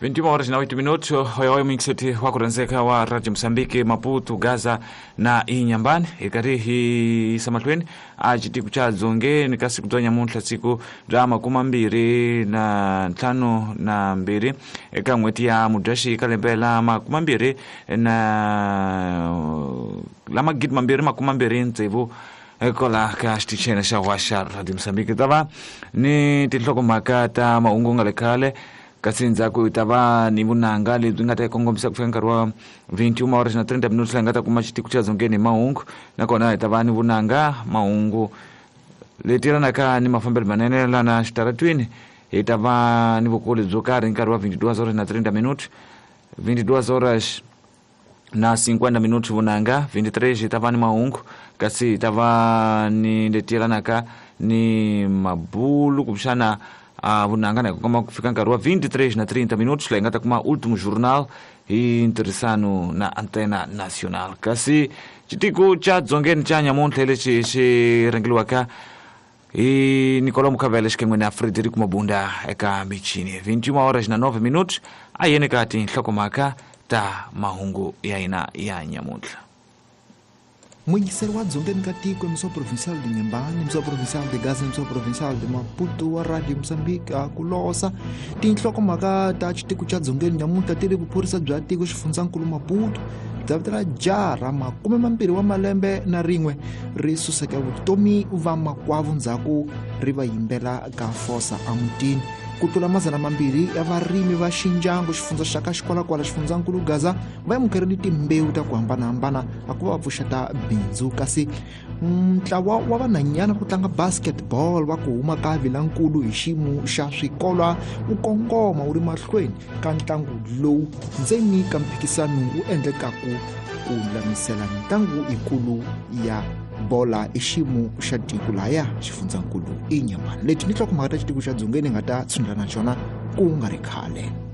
21 horas na 8 minutos, hoyohoyo mingiseti wa kurhandzeka wa Radio Mozambique, Maputo, Gaza na Inhambane, hi karhi hi yisa mahlweni a xitiko xa Dzongeni ka siku bya nyamuntlha, siku bya 25 eka n'hweti ya Mudyaxihi ka lembe la makumambirhi na la 2026, kwala ka xitichini xa wa xa Radio Mozambique. Ta va ni tinhlokomhaka ta mahungu nga le khale, kasi ndzhaku hi ta va ni vunanga lebyi nga ta yi kongomisa ku fika nkarhi wa 21 horas na 30 minutos, laha hi nga ta kuma xitiko xa Dzongeni hi mahungu. Nakona hi ta va ni vunanga, mahungu leti yelanaka ni mafambelo manene lana xitaratwini. Hi ta va ni vukuli byo karhi nkarhi wa 22 horas na 30 minutos, 22 horas na 50 minutos vunanga, 23 hi ta va ni mahungu, kasi hi ta va ni leti yelanaka ni mabulu kumbexana vunanga na kongoma ku fika nkarhi wa 23 na 30 minutos, laha hi nga ta kuma Último Jornal hi ntirhisano na Antena Nacional. Kasi xitiko xa Dzongeni xa nyamuntlha lexi xi rhangeliwaka hi Nicolau Mukhavele xikan'we na Frederico Mabunda eka michini. 21 horas na 9 minutos, a yeni ka tinhlokomhaka ta mahungu ya hina ya nyamuntlha. Muyingiseri wa Dzongeni ka tiko, emissão provincial de Inhambane, emissão provincial de Gaza, emissão provincial de Maputo wa Radio Mozambique, a ku losa. Tinhlokomhaka ta xitiko xa Dzongeni nyamuntlha ti ri: vuphorisa bya tiko xifundzankulu Maputo bya vitela jaha ra 21 wa malembe na rin'we ri suseke vutomi va makwavo ndzhaku ri va yimbela ka fosa emutini. Ku tlula 200 ya varimi va Xinjangu, xifundza xa ka Xikwalakwala, xifundzankulu Gaza, va amukerile timbewu ta ku hambanahambana a ku va va pfuxeta bindzu. Kasi ntlawa wa vanhanyana ku tlanga basketball va ku huma ka Vilankulu hi xiyimo xa swikolwa wu kongoma wu ri mahlweni ka ntlangu lowu ndzeni ka mphikisano wu endlekaku ku lulamisela mitlangu yikulu ya bola i xiyimo xa tiko laya xifundzankulu Inhambane. Leti ni nhlokomhaka ta xitiko xa Dzongeni nga ta tshundla na xona ku nga ri khale.